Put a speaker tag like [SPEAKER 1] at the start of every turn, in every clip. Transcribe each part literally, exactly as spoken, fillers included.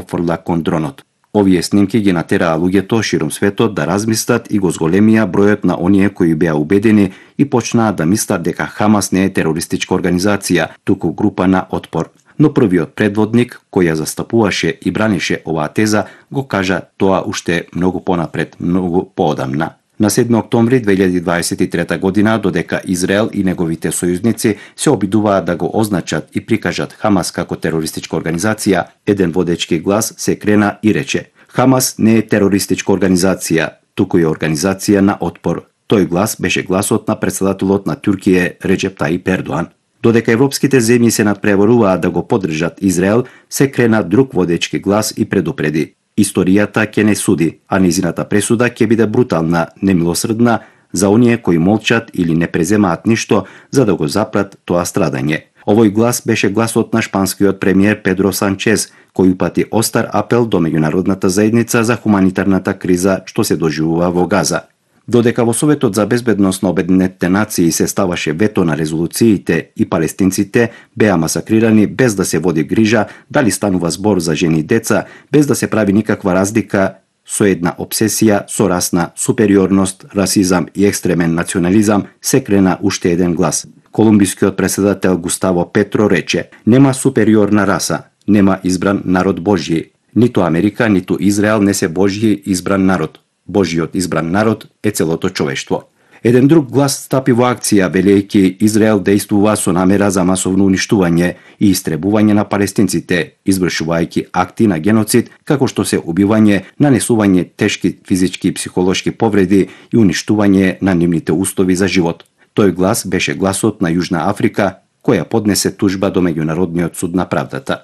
[SPEAKER 1] фрла кон дронот. Овие снимки ги натераа луѓето широм светот да размислат и го зголемија бројот на оние кои беа убедени и почнаа да мислат дека Хамас не е терористичка организација, туку група на отпор. Но првиот предводник, кој ја застапуваше и бранише оваа теза, го кажа тоа уште многу понапред, многу поодамна. На седми октомври две илјади дваесет и трета година, додека Израел и неговите сојузници се обидуваат да го означат и прикажат Хамас како терористичка организација, еден водечки глас се крена и рече: Хамас не е терористичка организација, туку е организација на отпор. Тој глас беше гласот на претседателот на Туркија Реджеп Таип Ердоан. Додека европските земји се надпреваруваат да го поддржат Израел, се крена друг водечки глас и предупреди: историјата ќе не суди, а незината пресуда ќе биде брутална, немилосрдна за оние кои молчат или не преземаат ништо за да го запрат тоа страдање. Овој глас беше гласот на шпанскиот премиер Педро Санчес, кој упати остар апел до меѓународната заедница за хуманитарната криза што се доживува во Газа. Додека во Советот за безбедност на Обединетите нации се ставаше вето на резолуциите и палестинците беа масакрирани без да се води грижа дали станува збор за жени и деца, без да се прави никаква разлика, со една обсесија со расна супериорност, расизам и екстремен национализам, се крена уште еден глас. Колумбискиот претседател Густаво Петро рече: нема супериорна раса, нема избран народ Божји. Ниту Америка, ниту Израел не се Божји избран народ. Божјиот избран народ е целото човештво. Еден друг глас стапи во акција, велејќи Израел дејствува со намера за масовно уништување и истребување на палестинците, извршувајќи акти на геноцид, како што се убивање, нанесување тешки физички и психолошки повреди и уништување на нивните устови за живот. Тој глас беше гласот на Јужна Африка, која поднесе тужба до Меѓународниот суд на правдата.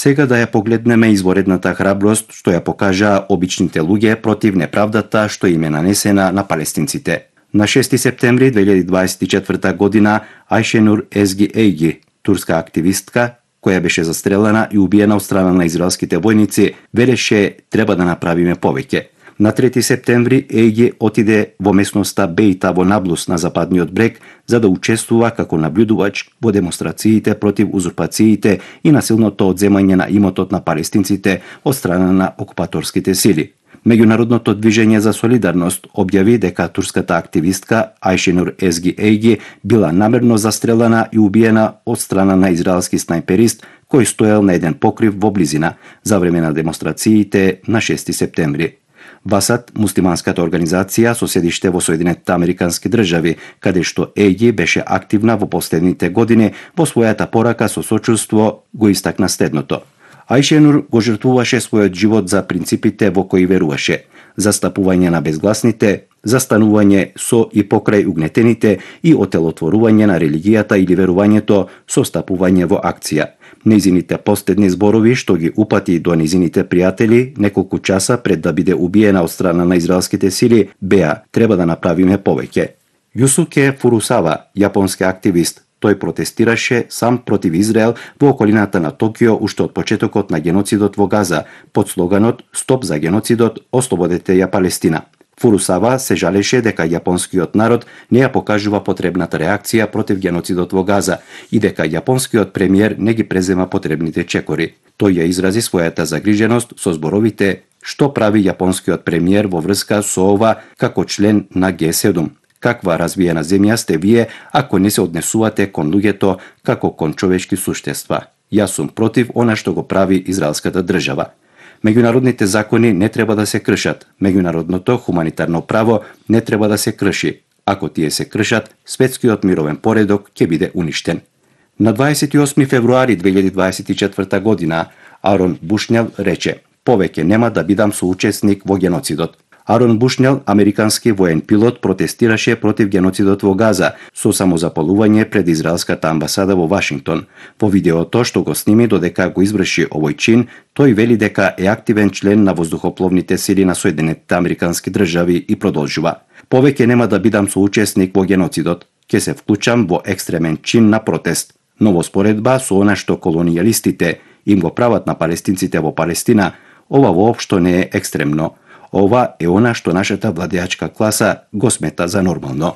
[SPEAKER 1] Сега да ја погледнеме изворедната храброст што ја покажаа обичните луѓе против неправдата што им е нанесена на палестинците. На шести септември две илјади дваесет и четврта година Ајшенур Езги Ејги, турска активистка, која беше застрелена и убиена од страна на израелските војници, велеше: треба да направиме повеќе. На трети септември Ејги отиде во местноста Бејта во Наблус на западниот брег за да учествува како набљудувач во демонстрациите против узурпациите и насилното одземање на имотот на палестинците од страна на окупаторските сили. Меѓународното движење за солидарност објави дека турската активистка Ајшенур Езги Ејги била намерно застрелена и убиена од страна на израелски снайперист кој стоел на еден покрив во близина за време на демонстрациите на шести септември. Васат, муслиманската организација со седиште во Соединетите Американски држави, каде што Ејги беше активна во последните години, во својата порака со сочувство го истакна следното: Ајшенур го жртвуваше својот живот за принципите во кои веруваше: застапување на безгласните, застанување со и покрај угнетените и отелотворување на религијата или верувањето со стапување во акција. Нејзините последни зборови што ги упати до нејзините пријатели неколку часа пред да биде убиена од страна на израелските сили беа: треба да направиме повеќе. Јусуке Фурусава, јапонски активист, тој протестираше сам против Израел во околината на Токио уште од почетокот на геноцидот во Газа, под слоганот "Стоп за геноцидот, ослободете ја Палестина". Фурусава се жалеше дека јапонскиот народ не ја покажува потребната реакција против геноцидот во Газа и дека јапонскиот премиер не ги презема потребните чекори. Тој ја изрази својата загриженост со зборовите: што прави јапонскиот премиер во врска со ова како член на Г седум? Каква развиена земја сте вие ако не се однесувате кон луѓето како кон човечки суштества? Јас сум против она што го прави израелската држава. Меѓународните закони не треба да се кршат. Меѓународното хуманитарно право не треба да се крши. Ако тие се кршат, светскиот мировен поредок ќе биде уништен. На дваесет и осми февруари две илјади дваесет и четврта година Арон Бушнел рече: повеќе нема да бидам соучесник во геноцидот. Арон Бушнел, американски воен пилот, протестираше против геноцидот во Газа со самозапалување пред израелската амбасада во Вашингтон. Во видеото што го сними додека го изврши овој чин, тој вели дека е активен член на воздухопловните сили на Соединетите Американски држави и продолжува: повеќе нема да бидам соучесник во геноцидот, ќе се вклучам во екстремен чин на протест. Но во споредба со она што колонијалистите им го прават на палестинците во Палестина, ова воопшто не е екстремно. Ова е она што нашата владеачка класа го смета за нормално.